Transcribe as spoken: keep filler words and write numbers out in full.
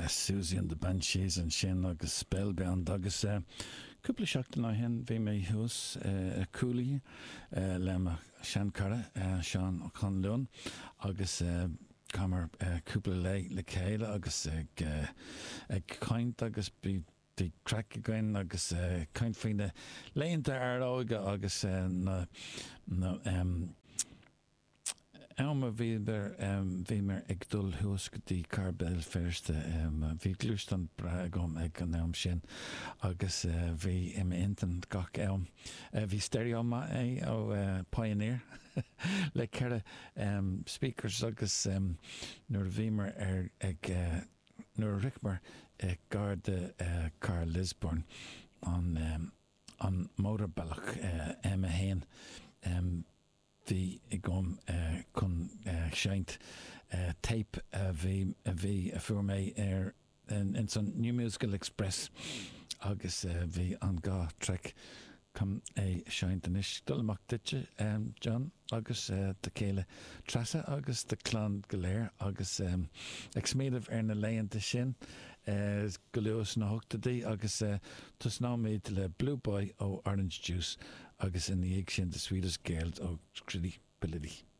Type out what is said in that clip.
Siouxsie and the Banshees ansin agus Spellbound agus cúpla seachtain ó shin bhí mé thuas i Cooley le mo sheanchara Seán Ó Conluain agus chaitheamar cúpla lae le chéile agus ag ag caint agus bhí bhí craic againn agus caint faoi na laethanta ár óige agus na na am a bhíomar ag dul thuas go dtí Cathair Béal Feirste. Bhí gluaisteán breá agam ag an am sin agus bhí i m'intinn gach am. Bhí stereo maith é ó Pioneer le ceithre speakers agus nuair a bhíomar ar ag nuair a shroicheamar gar do Cathair Lisburn an an mótarbealach M a haon bhí agam chun seinnt tape a bhí a bhí a fuair mé ar ins an New Musical Express agus bhí an dhá traic chun é seinnt anois. Dul amach duitse John agus do chéile Treasa agus do chlann go léir agus ag smaoineamh ar na laethanta sin go luath sna hochtóidí agus tosnóimid le Blue Boy ó Orange Juice agus ina dhiaidh sin The Sweetest Girls ó Scritti Politti.